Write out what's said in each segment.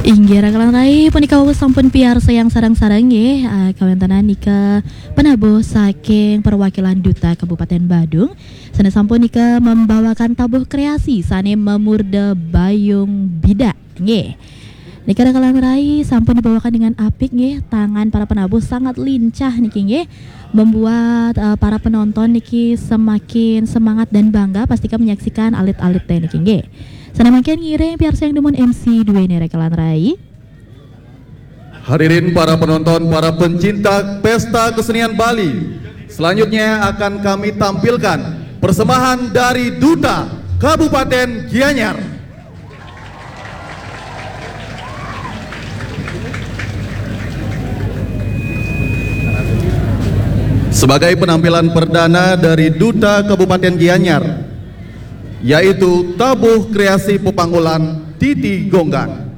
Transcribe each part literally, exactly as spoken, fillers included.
Inggih raka lan rai, punika wau sampun piarsa yang sareng-sareng nggih, ah, kawéntenan nika penabuh saking perwakilan Duta Kabupaten Badung, sané sampun nika membawakan tabuh kreasi sané memurda Bayung Bidak nggih. Nika raka lan rai sampun dibawakan dengan apik nggih, tangan para penabuh sangat lincah niki nggih, membuat eh, para penonton niki semakin semangat dan bangga pastika menyaksikan alit-alit téh niki nggih. Sané mangkin ngiring piarsa yang dumun M C duwéné raka lan rai. Hadirin para penonton, para pencinta pesta kesenian Bali, selanjutnya akan kami tampilkan persembahan dari Duta Kabupaten Gianyar. Sebagai penampilan perdana dari Duta Kabupaten Gianyar, yaitu tabuh kreasi pepanggulan Titi Gonggang.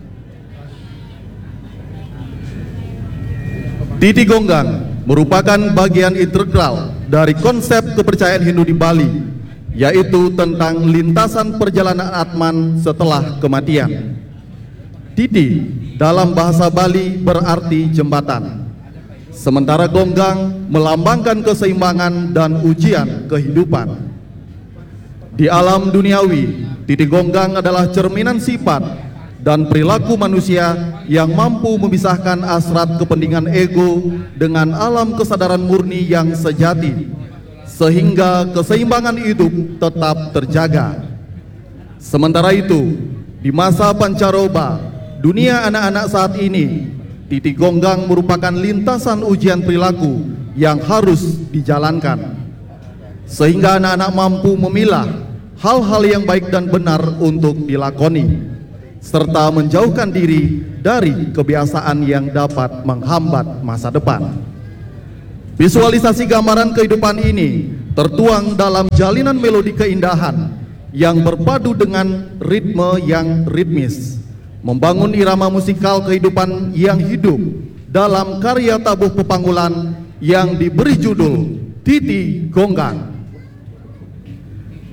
Titi Gonggang merupakan bagian integral dari konsep kepercayaan Hindu di Bali, yaitu tentang lintasan perjalanan Atman setelah kematian. Titi dalam bahasa Bali berarti jembatan, sementara gonggang melambangkan keseimbangan dan ujian kehidupan. Di alam duniawi, titi gonggang adalah cerminan sifat dan perilaku manusia yang mampu memisahkan asrat kepentingan ego dengan alam kesadaran murni yang sejati, sehingga keseimbangan hidup tetap terjaga. Sementara itu, di masa pancaroba dunia anak-anak saat ini, titi gonggang merupakan lintasan ujian perilaku yang harus dijalankan, sehingga anak-anak mampu memilah hal-hal yang baik dan benar untuk dilakoni, serta menjauhkan diri dari kebiasaan yang dapat menghambat masa depan. Visualisasi gambaran kehidupan ini tertuang dalam jalinan melodi keindahan yang berpadu dengan ritme yang ritmis, membangun irama musikal kehidupan yang hidup dalam karya tabuh pepanggulan yang diberi judul Titi Gonggang.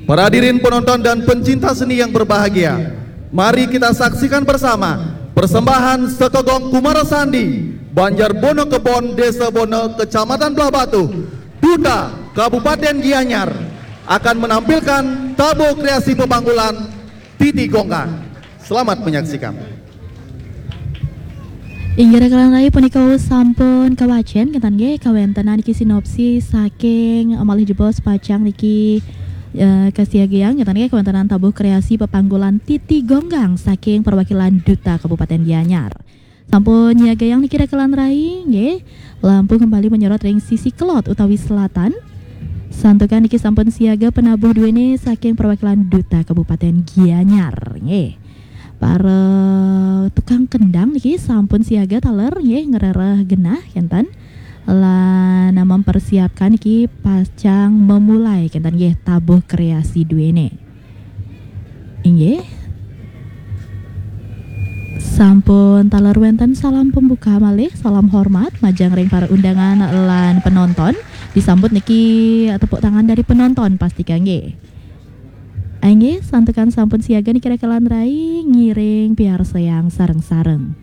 Para hadirin penonton dan pencinta seni yang berbahagia, mari kita saksikan bersama persembahan Sekegong Kumara Sandi, Banjar Bono Kebon, Desa Bono, Kecamatan Blahbatuh, Duta Kabupaten Gianyar, akan menampilkan tabuh kreasi pepanggulan Titi Gonggang. Selamat menyaksikan. Inggih raka lan rai, punika sampun kawacén kénten nggih kawéntenan niki sinopsis saking malih jebos pacang niki eh, kasiagiang kénten nggih kawéntenan tabuh kreasi pepanggulan Titi Gonggang saking perwakilan Duta Kabupaten Gianyar. Sampun nyiagayang niki raka lan rai nggih. Lampu kembali menyorot ring sisi kelod utawi selatan. Santukan niki sampun siaga penabuh duwéné saking perwakilan Duta Kabupaten Gianyar nggih. Para tukang kendang niki sampun siaga taler nggih, ngrereh genah kénten. Lan mempersiapkan niki pacang memulai kénten nggih tabuh kreasi duwéné. Inggih. Sampun taler wénten salam pembuka malih, salam hormat majeng ring para undangan lan penonton. Disambut niki tepuk tangan dari penonton pastika nggih. Inggih, santukan sampun siaga niki raka lan rai, ngiring piarsayang sareng-sareng.